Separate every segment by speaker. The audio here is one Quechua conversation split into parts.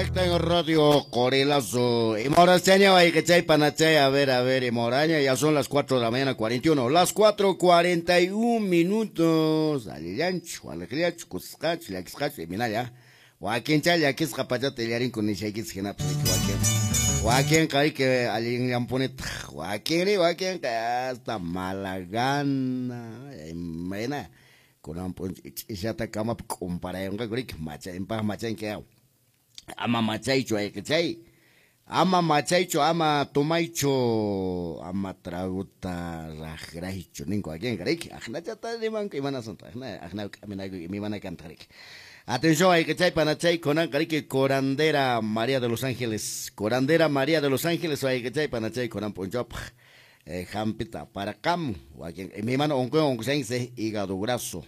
Speaker 1: Exacto en Radio Corilazo. Y Morachaña, chay panachay, a ver, y Moraña, ya son las 4 de la mañana, 41. Las 4:41 minutos. Alillancho, alegriacho, cuscacho, llaquiscacho, y minaya. Wakin chay llakisqa pachata illarinku nishaykichis hinapas wakin. Wakinqa riki allinllanpunitaq. Wakinri wakinqa hasta mala gana, imayna. Kunan p'unchay ch'ishata kamapi k'umparayunqaku riki machaypaq machanki ama machaychu ayqichay. Ama machaychu, ama tumaychu, ama traguta raqraychu ninku wakinqa riki. Aqnachata rimanku imanasanta aqna aqna k'aminaku imimana kantaq riki. Atención, ayqichay panachay kunanqa riki curandera María de los Ángeles. Curandera María de los Ángeles ayqichay panachay kunan p'unchawpaq. Hampita para qam wakin imimana unquywan unqushanchis hígado graso,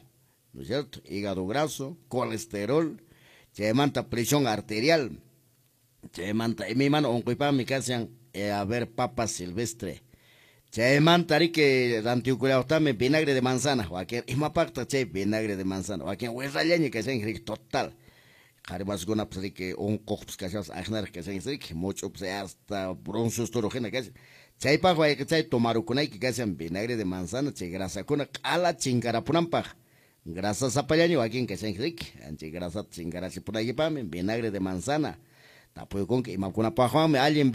Speaker 1: ¿no es cierto? Hígado graso, colesterol, chaymanta presión arterial, chaymanta imimana unquypaqmi kashan a ver papa silvestre. Chaymanta riki rantiukullawtami vinagre de manzana, wakin imapaqtaq chay vinagre de manzana, wakin wirrallaña kashanki riki total. Qhari masikunapas riki unquqpas kashaspas aqnaraq kashanchis riki, much'upas hasta bronceos toro hina kashan. Chaypaq wayqichay tomarukunayki kashan vinagre de manzana, chay grasakuna q'ala chinkarapunanpaq. Grasa sapallaña wakin kashanki riki, chay grasata chinkarachipunaykipaqmi vinagre de manzana. Tapuykunki imakunapaqwanmi allin.